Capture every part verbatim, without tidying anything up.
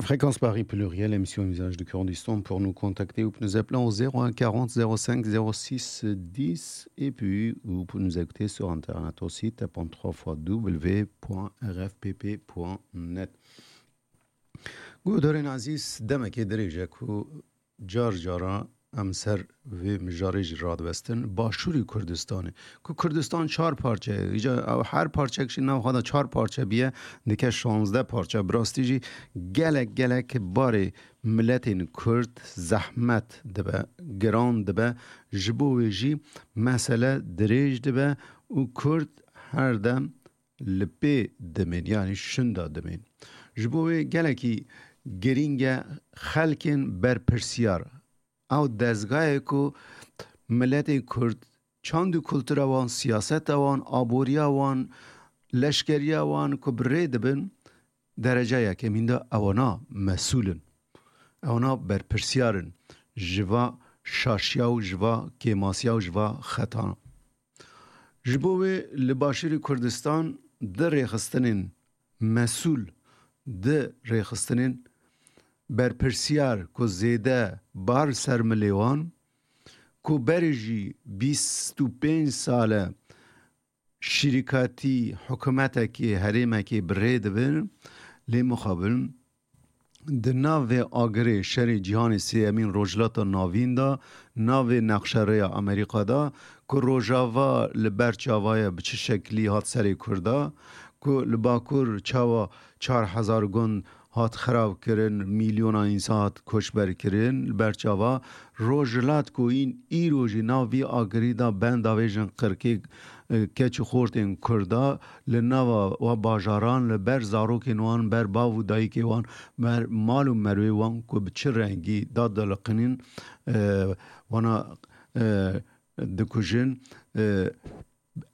Fréquence Paris Pluriel, émission Visage du Kurdistan. Pour nous contacter, vous pouvez nous appeler au zéro un quarante zéro cinq zéro six dix et puis vous pouvez nous écouter sur internet aussi, tapant trois fois w point r f p p point net. Guhdarên ezîz, demekê dirêj e ku car cara em ser vê mijarê jî radiwestin. Başûrî Kurdistanê, ku Kurdistan çar parçe ye, îca ew her parçek jî nav xwe de çar parçe biye, dike şanzdeh parçe. Bi rastî jî gelek gelek barê miletên Kurd zehmet dibe, giran dibe. Ji bo wê jî mesele dirêj dibe û Kurd her dem li pê dimên, yanî şinda dimên. Ji bo wê gelekî girîng e xelkên berpirsiyar. Ew dezgayê ku miletên Kurd, çand û kultura wan, siyaseta wan, aboriya wan, leşkeriya wan ku bi rê dibin, dereca yekemîn de ewana mesûl in. Ewana berpirsiyar in ji va şaşiya û ji va kêmasiya û ji va xetana. Ji bo wê li Başûrê Kurdistan di rêxistinên mesûl, di rêxistinên berpirsiyar ku zêde bar ser milê wan, ku berê jî bîst û pênc sal e şirîkatî hikûmetekê, herêmekê bi rê dibin, lê mixabin di navê agirê şerê cîhanê sêyemîn Rojhilata Navîn de, navê nexşerêya Amerîka de, ku Rojava li ber çava ye, bi çi şeklî hat serê Kurda, ku li Bakur çawa çar hezar gund hat xirab kirin, milyona însan hat koçber kirin, li ber çava Rojhilat ku în îro jî nav vî agirî de benda vêjin qirkê, e, keç û xortên Kurda li nava wa bajaran li ber zarokên wan, ber bav û dayikê wan, ber mal û merwê wan ku bi çi rengî dadiliqînin, e, wana, e, dikujin, e,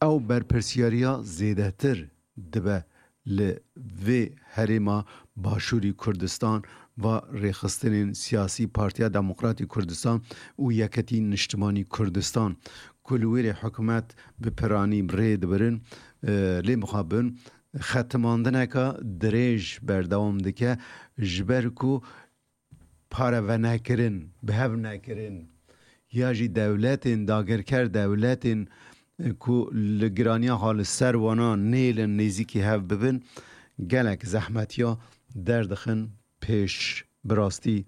ew berpirsiyariya zêdetir dibe li vê herêma Başûrî Kurdistan, va rêxistinên siyasî Partiya Demokratî Kurdistan û Yeketî Niştimanî Kurdistan, ku li wêrê hikûmet bi piranî rê dibirin, e, lê mixabin xetimandineka dirêj berdewam dike, ji ber ku pare venekirin, bi hev nekirin, ya jî dewletên dagirker, dewletên, e, ku li giraniya xwe li ser wana nêlin nêzîkî hev bibin, gelek zehmetiya derdixin pêş. Bi rastî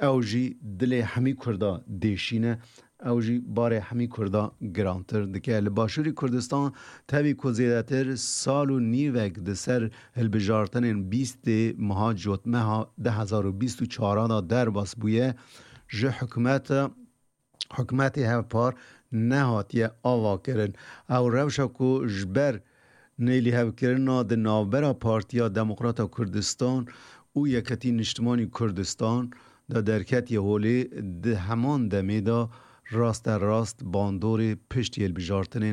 ew jî dilê hemî Kurda dêşîne, ew jî barê hemî Kurda girantir dike. Li Başûrî Kurdistan tevî ku zêdetir sal û nîvek di ser hilbijartinên bîstê meha Cotmeha du hezar û bîst û çar de derbas bûye, ji hikûmeta, hikûmetê hevpar nehatiye ava kirin. Ew rewşa ku ji ber nêlîhevkirina di navbera Partiya Demokrata Kurdistan û Yeketî Niştimanî Kurdistan de derketiye holê, di heman demê de rasterast bandorê piştî hilbijartinên